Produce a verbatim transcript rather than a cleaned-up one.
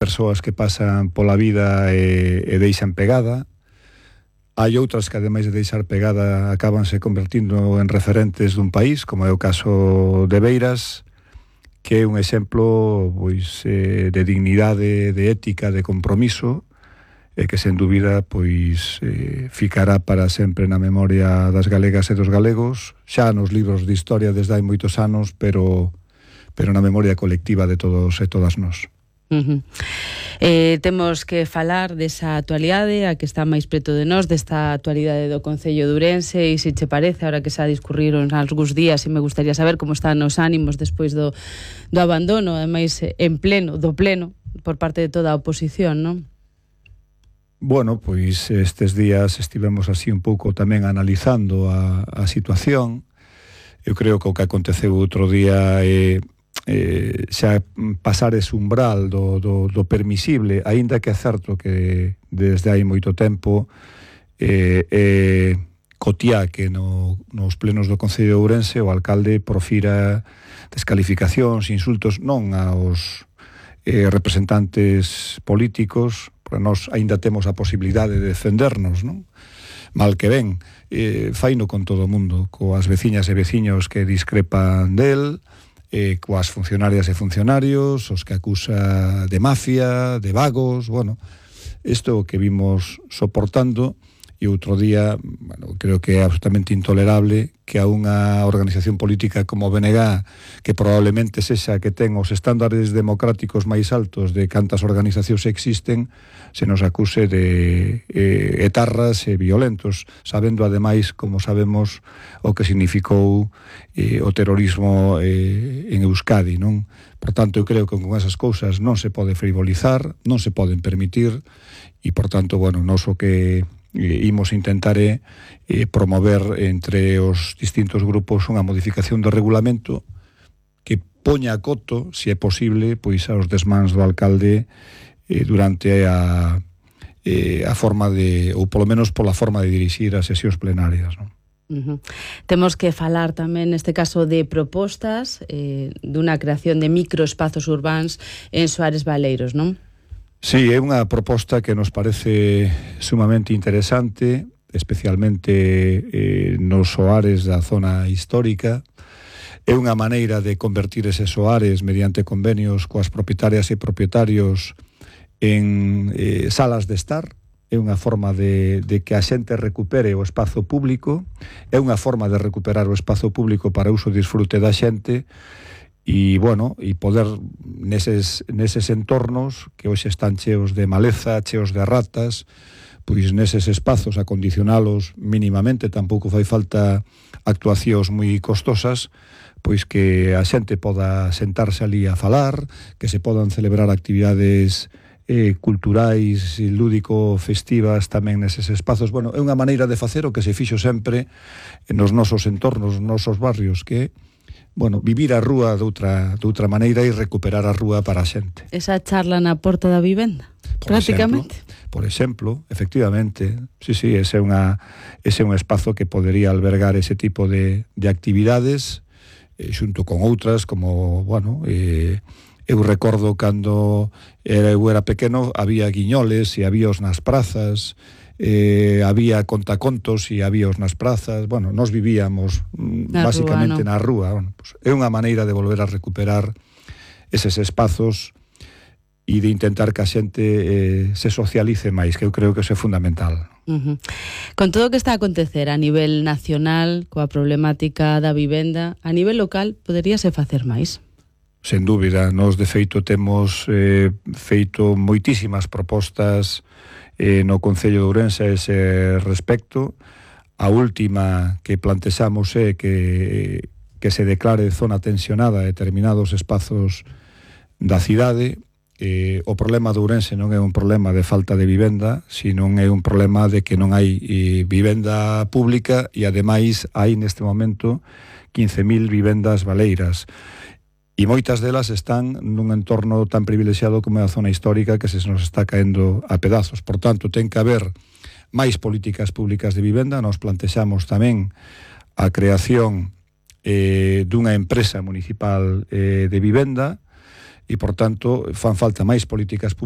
persoas que pasan pola vida e, e deixan pegada. Hai outras que, ademais de deixar pegada, acabanse convertindo en referentes dun país, como é o caso de Beiras, que é un exemplo pois, eh, de dignidade, de ética, de compromiso, e que, sen dúbida, pois, eh, ficará para sempre na memoria das galegas e dos galegos, xa nos libros de historia desde hai moitos anos, pero, pero na memoria colectiva de todos e todas nós. Uh-huh. Eh, temos que falar desa actualidade, a que está máis preto de nós, desta actualidade do Concello de Ourense, e se che parece, ahora que xa discurriron algúns días, e me gustaría saber como están os ánimos despois do, do abandono, ademais en pleno, do pleno, por parte de toda a oposición, non? Bueno, pois estes días estivemos así un pouco tamén analizando a, a situación. Eu creo que o que aconteceu outro día é Eh, xa pasar ese umbral do, do, do permisible, aínda que é certo que desde hai moito tempo eh, eh, cotía que no, nos plenos do Concello de Ourense o alcalde profira descalificacións, insultos non aos eh, representantes políticos, porque nós aínda temos a posibilidade de defendernos, non? Mal que ben, eh, faino con todo o mundo, coas veciñas e veciños que discrepan del, Eh, coas funcionarias e funcionarios, os que acusa de mafia, de vagos, bueno, isto que vimos soportando, e outro día, bueno, creo que é absolutamente intolerable que a unha organización política como B N G, que probablemente sexa que ten os estándares democráticos máis altos de cantas organizacións existen, se nos acuse de eh, etarras e violentos, sabendo ademais, como sabemos, o que significou eh, o terrorismo eh, en Euskadi, non? Por tanto, eu creo que con esas cousas non se pode frivolizar, non se poden permitir, e, por tanto, bueno, nos o que eh, imos intentar é eh, promover entre os distintos grupos unha modificación do regulamento que poña a coto, se é posible, pois aos desmans do alcalde eh, durante a, eh, a forma de, ou polo menos pola forma de dirixir as sesións plenarias, non? Uh-huh. Temos que falar tamén neste caso de propostas eh, dunha creación de microespazos urbáns en Soares Baleiros, non? Sí, é unha proposta que nos parece sumamente interesante, especialmente eh, nos soares da zona histórica. É unha maneira de convertir eses soares mediante convenios coas propietarias e propietarios en eh, salas de estar. É unha forma de, de que a xente recupere o espazo público, é unha forma de recuperar o espazo público para uso e disfrute da xente, e, bueno, e poder neses, neses entornos que hoxe están cheos de maleza, cheos de ratas, pois neses espazos acondicionalos mínimamente, tampouco fai falta actuacións moi costosas, pois que a xente poda sentarse ali a falar, que se podan celebrar actividades eh, culturais e lúdico-festivas tamén neses espazos. Bueno, é unha maneira de facer o que se fixo sempre nos nosos entornos, nos nosos barrios, que bueno, vivir a rúa doutra, doutra maneira e recuperar a rúa para a xente. Esa charla na porta da vivenda, por prácticamente. Exemplo, por exemplo, efectivamente, sí, sí, ese é, unha, ese é un espazo que podería albergar ese tipo de, de actividades, eh, xunto con outras, como, bueno, eh, eu recordo cando era, eu era pequeno, había guiñoles e habíos nas prazas, eh, había contacontos e habíos nas prazas, bueno, nos vivíamos na basicamente rúa, ¿no? na rúa. Bueno, pues, é unha maneira de volver a recuperar eses espazos e de intentar que a xente eh, se socialice máis, que eu creo que eso é fundamental. Uh-huh. Con todo o que está a acontecer a nivel nacional, coa problemática da vivenda, a nivel local, poderíase facer máis? Sen dúbida, nós de feito temos eh, feito moitísimas propostas eh, no Concello de Ourense a ese respecto. A última que plantexamos é que, que se declare zona tensionada a determinados espazos da cidade. Eh, o problema de Ourense non é un problema de falta de vivenda, sino é un problema de que non hai eh, vivenda pública, e ademais hai neste momento quince mil vivendas baleiras. E moitas delas están nun entorno tan privilexiado como é a zona histórica, que se nos está caendo a pedazos. Por tanto, ten que haber máis políticas públicas de vivenda. Nos plantexamos tamén a creación eh, dunha empresa municipal eh, de vivenda, e, por tanto, fan falta máis políticas públicas